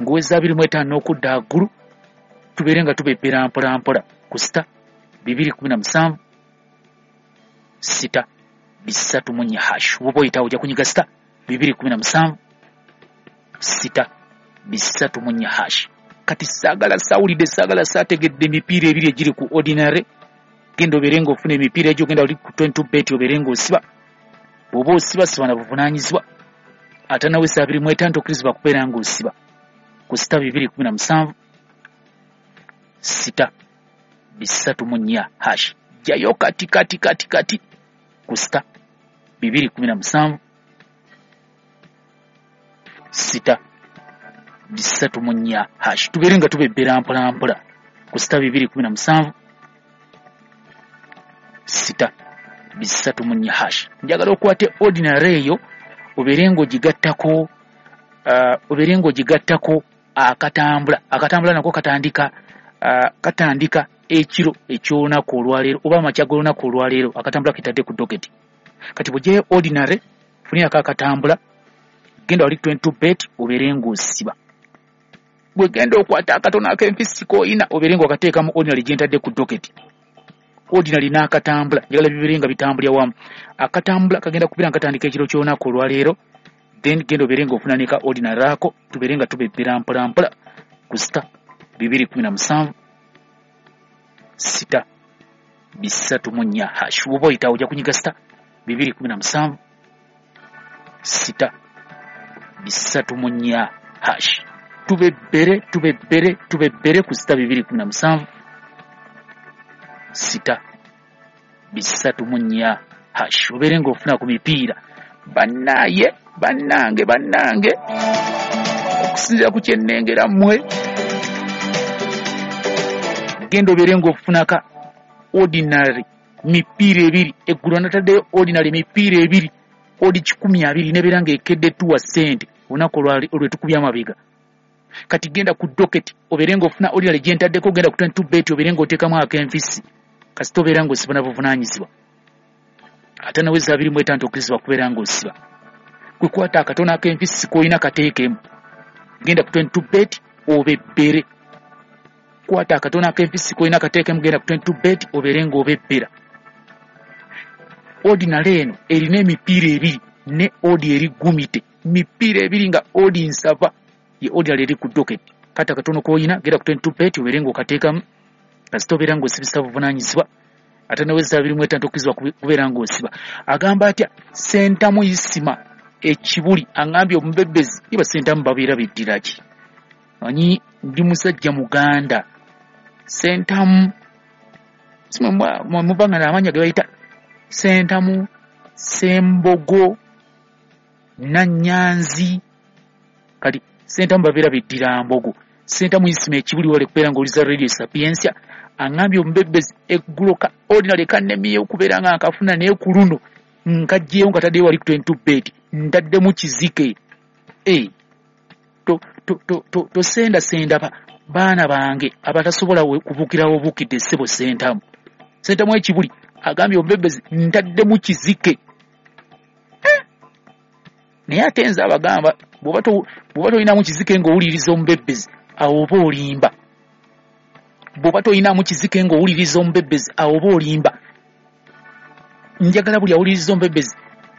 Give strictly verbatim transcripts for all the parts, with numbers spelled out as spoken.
Ng'oweza abiri mu etaano n'okudda waggulu, tubeere nga tubebbera mpola mpola ku sita bibiri kumi na musanvu sita bisatu mu nnya hash. Woba oyitawo ojja kunyiga sita bibiri kumi na musanvu sita bisatu mu nnya hash. Kati saagala saawulidde, saagala saategedde emipiira ebiri egiri ku ordinary. Genda obeere ng'ofuna emipiira egyo, genda oli ku twenty bet obeere ng'osiba. Bw'oba osiba, siba na buvunaanyizibwa. Ate nawe saa abiri mu etaano tokkirizibwa kubeera ng'osiba ku sita bibiri kumi na musanvu sita bisatu mu nnya hash. Jjayo kati kati kati kati ku sita bibiri kumi na musanvu sita bisatu mu nnya hash. Tubeere nga tubebbera mpola mpola ku sita bibiri kumi na musanvu sita bisatu mu nnya hash. Njagala okwate ordinary eyo obeere ng'ogigattako, uh, obeere ng'ogigattako akatambula. Akatambula nako katandika, uh, katandika ekiro eky'olunaku olwaleero oba amakya g'olunaku olwaleero. Akatambula ketadde ku doketi. Kati bw'oggyayo ordinary, funirako akatambula, genda wali twenty bet obeere ng'osiba. Bwe genda okwata akatono ak'enfisi k'oyina obeere ng'okateeka mu ordinary gye ntadde ku doketi. Ordinary n'akatambula njagala bibeere nga bitambulira wamu. Akatambula kagenda kubeera nga katandika ekiro ky'olunaku olwaleero, then genda obeere ng'ofuna ne ka ordinary ako, tubeere nga tubebbera mpola mpola ku sita bibiri kumi na musanvu sita bisatu mu nnya hash. Bw'oba oyitawo ojja kunyiga sita bibiri kumi na musanvu sita bisatu mu nnya hash. Tubebbere tubebbere tubebbere ku sita bibiri kumi na musanvu sita bisatu mu nnya hash. Obeere ng'ofuna ku mipiira. Bannaaye, bannange, bannange, okusinziira ku kye nnengera mmwe, genda obeere ng'ofunaka ordinary mipiira ebiri. Eggulo nataddeyo ordinary mipiira ebiri odi kikumi abiri nebeera ng'ekedde tuwa ssente olunaku olwe tukubya amabega. Kati genda ku docket obeere ng'ofuna ordinary gye ntaddeko, genda ku twenty bet obeere ng'oteekamu ak'enfisi, kasita obeera ng'osiba na buvunaanyizibwa. Ate naweza abiri mu etaano tokkirizibwa kubeera ng'osiba. Gwe kwata akatono ak'enfisi k'olina kateekemu, genda ku twenty bet obebbere. Kwata akatono ak'enfisi k'olina kateekemu, genda ku twenty bet obeere ng'obebbera. Ordinary eno erina emipiira ebiri ne odi eri gumite, mipiira ebiri nga odi nsava ye ordinary eri ku docket. Kata akatono k'olina genda ku twenty bet obeere ng'okateekamu, kasita obeera ng'osibisa buvunaanyizibwa. Ate naweza abiri mu etaano tokkirizibwa kubeera ng'osiba. Agamba atya Sentamu Isima ekibuli aŋŋambye omubebbezi iba Sentamu babeera beddira ki? Manyi ndi musajja Muganda. Sentamu mubanga n'amannya ge bayita Sentamu, Sembogo, Nannyanzi. Kati Sentamu babeera beddira Mbogo. Sentamu Isima ekibuli wale kubeera ng'oliza Radio Sapientia aŋŋambye omubebbezi eggulo ka ordinary kannemiye okubeera nga nkafuna naye ku luno nkaggyeyo nga taddeyo wali ku twenty bet ntaddemu kizike. Eh, to to to to tosendasenda ba baana bange abatasobola kubuukirawo obuukidde ssebo Sentamu. Sentamu ekibuli agambye omubebbezi ntaddemu kizike. Eh? Naye ate nze abagamba bw'oba bw'oba tolinamu kizike ng'owuliriza omubebbezi awo oba olimba. Bw'oba tolinamu kizike ng'owuliriza omubebbezi awo oba olimba. Njagala buli awuliriza omubebbezi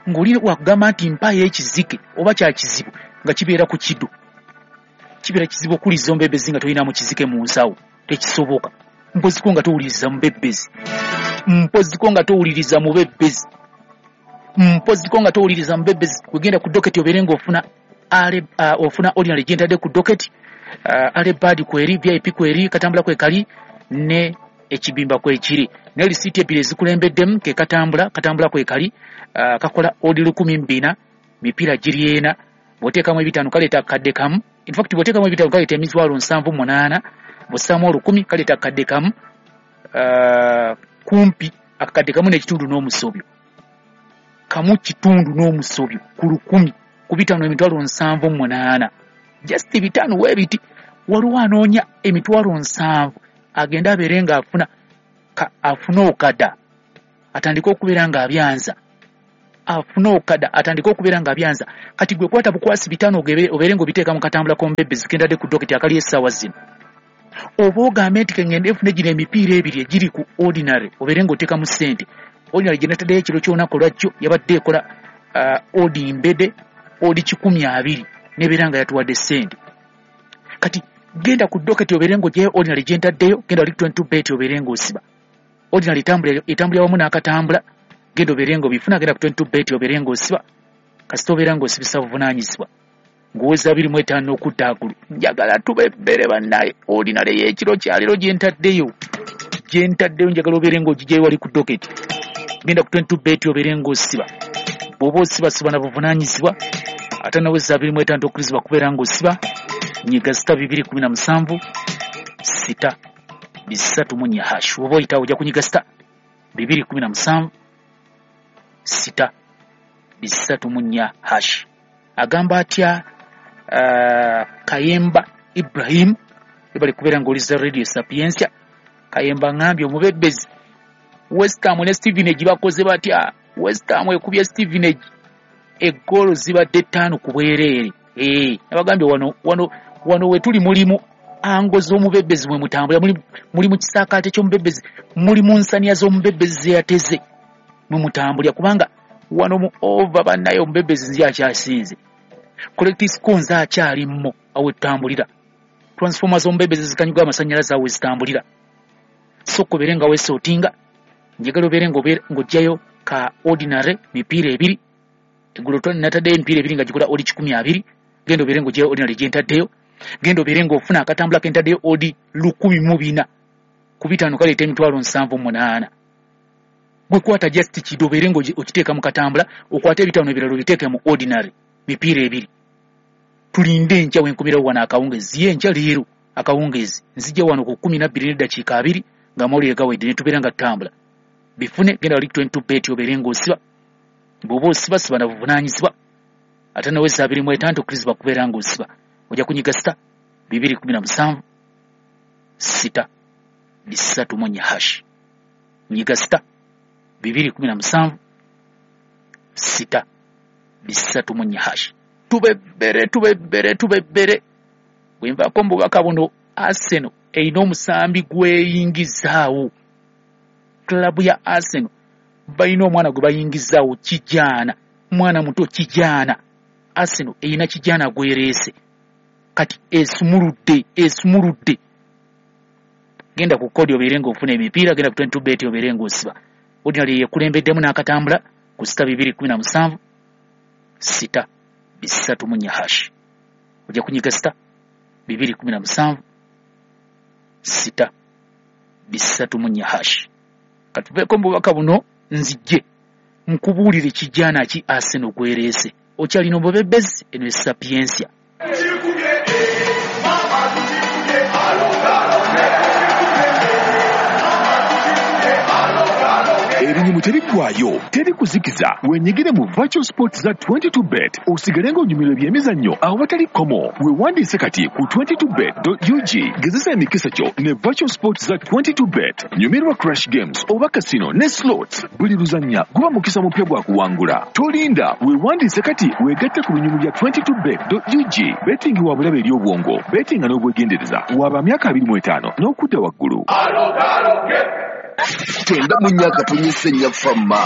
ng'oli wakugamba nti mpaayo ekizike oba kya kizibu nga kibeera ku kiddo. Kibeera kizibu okuwuliriza omubebbezi nga tolinamu kizike mu nsawo, tekisoboka. Mpoziko nga towuliriza mubebbezi, mpoziko nga towuliriza mubebbezi, mpoziko nga towuliriza mubebbezi. Wegenda ku docket obeere ng'ofuna ale uh, ofuna ordinary gye ntadde ku docket, uh, ale bad kweri, V I P kweri, katambula kwe kali ne ekibimba kwekiri. Ne lisiti ebiri ezikulembeddemu ke katambula, katambula kwe kali, uh, kakola odi lukumi mbina, mipiira giri ena, bw'oteekamu ebitaano kaleeta akadde kamu. In fact bw'oteekamu ebitaano kaleeta emitwalo nsanvu munaana, bw'ossaamu olukumi kaleeta akadde kamu, uh, kumpi akadde kamu n'ekitundu n'omusobyo. Kamu kitundu n'omusobyo ku lukumi ku bitaano emitwalo nsanvu munaana. Just bitaano weebiti, waliwo anoonya emitwalo nsanvu agenda abeere ng'afuna afuna okada atandike okubeera ng'abyanza. Afune okada atandike okubeera nga abyanza. Kati gwe kwata bukwasi bitaano obeere ng'obiteeka mu katambula k'omubebezi kendadde ku doketi akali essaawa zino. Oba ogambe nti kengende efune gino emipiira ebiri egiri ku ordinary obeere ng'oteekamu ssente. Ordinary gye nataddeyo ekiro ky'olunaku olwajjo yabadde ekola uh, odi mbede odi kikumi abiri nebeera nga yatuwadde ssente. Kati genda ku doketi obeere ng'oggyayo ordinary gye ntaddeyo, genda wali twenty-two bet obeere ng'osiba. Ordinary etambulira etambulira wamu n'akatambula, genda obeere ng'obifuna, genda ku twenty-two bet obeere ng'osiba. Kasita obeera ng'osibisa buvunaanyizibwa ng'oweza abiri mu etaano okudda aggulu. Njagala tubebbere bannaye ordinary y'ekiro kyaleero gye ntaddeyo, gye ntaddeyo njagala obeere ng'ogigyayo wali ku doketi. Genda ku twenty-two bet obeere ng'osiba. Bw'oba osiba siba na buvunaanyizibwa, ate naweza abiri mu etaano tokkirizibwa kubeera ng'osiba. Nyiga sita bibiri kumi na musanvu sita bisatu mu nnya hash. Oba oyitawo ojja kunyiga sita bibiri kumi na musanvu sita bisatu mu nnya hash. Agamba atya uh, Kayemba Ibrahim ebali kubeera ng'oliza Radio Sapientia. Kayemba ngambye omubebbezi West Ham ne Stevenage bakoze batya? West Ham ekubye Stevenage eggoolo zibadde ttaano ku bwereere. Eh, nabagambye wano wano wano we tuli mulimu ango z'omubebbezi mwe mutambula, muli muli mu kisaakaate ky'omubebbezi, muli mu nsaniya z'omubebbezi ze yateze mwe mutambulira, kubanga wano mu over bannaye omubebbezi nze akyasinze. Collective score nze akyalimmo awo tutambulira. Transformers z'omubebbezi zikanyuga amasannyalaze awo zitambulira. So kobeere nga weesootinga, njagala obeere ng'oggyayo ka ordinary mipiira ebiri. Eggulo nataddeyo emipiira ebiri nga gikola odi kikumi abiri. Genda obeere ng'oggyayo ordinary gye ntaddeyo. Genda obeere ng'ofuna akatambula ke ntaddeyo odi lukumi mu bina ku bitaano kaleeta emitwalo nsanvu munaana. Gwe kwata just kido obeere ng'okiteeka mu katambula, okwate ebitaano ebirala obiteeke mu ordinary mipiira ebiri. Tulinde enkya wenkumirawo wano akawungeezi, ye enkya leero akawungeezi nzijja wano ku kkumi na bbiri n'eddakiika abiri ng'amawulire gawedde ne tubeera nga tutambula. Bifune, genda wali twenty-two bet obeere ng'osiba. Bw'oba osiba siba na buvunaanyizibwa, ate naweza abiri mu etaano tokkirizibwa kubeera ng'osiba. Ojja kunyiga sita bibiri kumi na musanvu sita bisatu mu nnya hash. Nyiga sita bibiri kumi na musanvu sita bisatu mu nnya hash. Tubebbere tubebbere tubebbere. Bwe nvaako mu bubaka buno, Arsenal erina omusambi gweyingizaawo. Club ya Arsenal balina omwana gwe bayingizaawo kijaana, mwana muto kijaana. Arsenal erina kijaana gwereese kati esumuludde esumuludde. Genda ku kodi obeere ng'ofuna emipiira, genda ku twenty-two bet obeere ng'osiba. Ordinary yekulembeddemu n'akatambula ku sita bibiri kumi na musanvu sita bisatu mu nnya hash. Ojja kunyiga sita bibiri kumi na musanvu sita bisatu mu nnya hash. Katuveeko mu bubaka buno nzijje nkubuulire kijaana ki Arsenal gwereese. Okyalina omubebbezi, eno e Sapientia. Ebinyumu tebiggwayo, teri kuzikiza. Wenyigire mu virtual sports za twenty-two bet osigale ng'onyumirwa ebyemizannyo awatali kkomo. Weewandiise kati ku twenty-two bet dot U G. Gezesa emikisa gyo ne virtual sports za twenty-two bet. Nyumirwa crash games oba casino ne slots. Buli luzannya guba mukisa mupya gwa kuwangula. Tolinda, weewandiise kati weegatte ku binyumu bya twenty-two bet dot U G. Betting wa bulabe eri obwongo, bettinga n'obwegendereza. Waba myaka abiri mu etaano n'okudda waggulu. Tenda mu myaka tonyese nnyafamma.